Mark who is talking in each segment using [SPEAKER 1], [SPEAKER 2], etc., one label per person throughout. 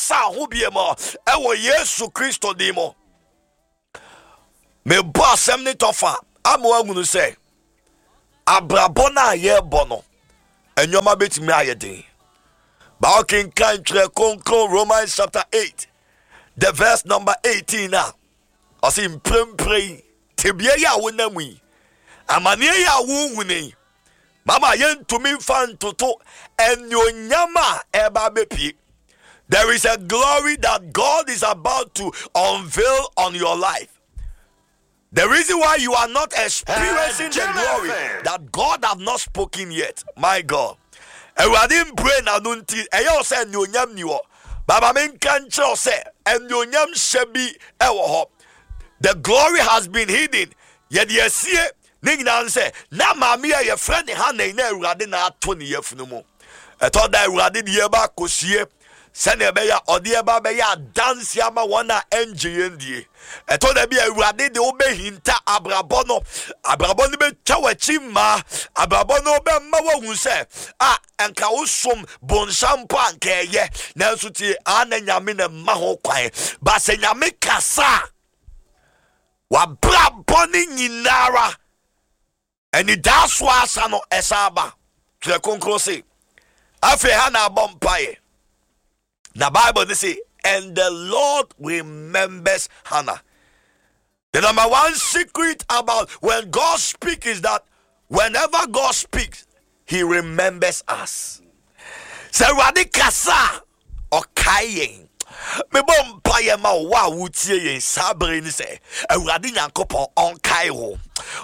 [SPEAKER 1] Ankasa ho bie mu ɛwɔ Yesu Kristo din mu. Mebɔ asɛm ne tɔfa ama woahunu sɛ abrabɔ no a yɛrebɔ no, nneɛma bɛtumi ayɛ den. Ba wokenkan Twerɛ Kronkron Romans chapter 8 the verse number 18 a, ɔse mprempren yi tebea yi a wonam yi, amanneɛ yi a wohunu yi, mama yɛntumi mfa ntoto anuonyam a ɛreba abɛpie. There is a glory that God is about to unveil on your life. The reason why you are not experiencing the glory that God have not spoken yet, my God. Awurade mpue n'ano nti ɛyɛ wo sɛ anuonyam ni hɔ. Baba menka nkyerɛ wo sɛ anuonyam hyɛ bi ɛwɔ hɔ. The glory has been hidden. Yɛde asie ne nyinaa sɛ na maame a yɛfrɛ ne Hana yi na Awurade na ato ne yafunu mu. Ɛtɔ da Awurade de yɛba akɔsie sɛnea ɛbɛyɛ a ɔde yɛba bɛyɛ adanse ama wɔn a ɛngye yɛn die. Ɛtɔ da bi a Awurade de wobɛhinta abrabɔ no, abrabɔ no bɛtwa w'akyi mmaa, abrabɔ no bɛma woahu sɛ a nka wosom bonsam mpo a nka ɛyɛ, nanso tie a na Nyame na mma ho kwan. Ba sɛ Nyame kasa a, wabrabɔ ne nyinara Anidaso asa no ɛsan aba. Twerɛ Kronkron se, afei Hana abɔ mpaeɛ. Na Bible ne se, and the Lord remembers Hannah. The number one secret about when God speaks is that whenever God speaks, he remembers us. Sɛ Awurade kasa a, ɔkae yɛn. Mebɔ mpaeɛ ma wo a wotie yɛn saa bere ni sɛ Awurade Nyankopɔn ɔnkae wo.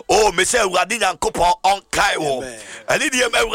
[SPEAKER 1] Oh, me sɛ Awurade Nyankopɔn ɔnkae wo. Ɛne deɛ Awurade.